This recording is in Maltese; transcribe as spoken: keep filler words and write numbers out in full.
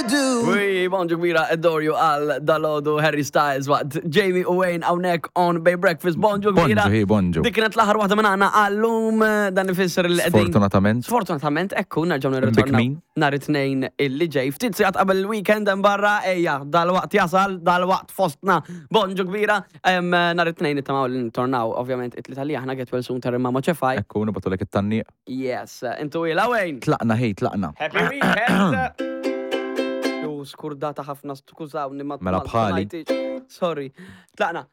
Ui, bonġu kbira, Adore You għal dalgħodu Harry Styles waqt Jamie u Wayne hawnhekk on Bay Breakfast. Bonġu kbira. Bonġu, hi, bonġu. Dik kienet l-aħħar waħda minn għandna għallum, dan ifisser li qegħdin. Sfortunatament. Sfortunatament, ekku, nerġgħu nirritornaw Bikmin. nhar it-Tnejn illi ġej. Ftit sigħat qabel il-weekend hemm barra, ejja, dal-waqt jasal, dal-waqt fostna. Bonġu kbira, em, nhar it-Tnejn nittamaw li ntornaw, ovvjament, it-Tlieta li aħna get well soon ter Mama Ċefaj. Ekku, nibagħtulek it-tgħanniq. Yes, intu ila Wayne. Tlaqna, hej, tlaqna. Happy weekend! U skurdata ħafna, skużawni ma Mela ma- bħali. ma- Sorry. Tlaqna.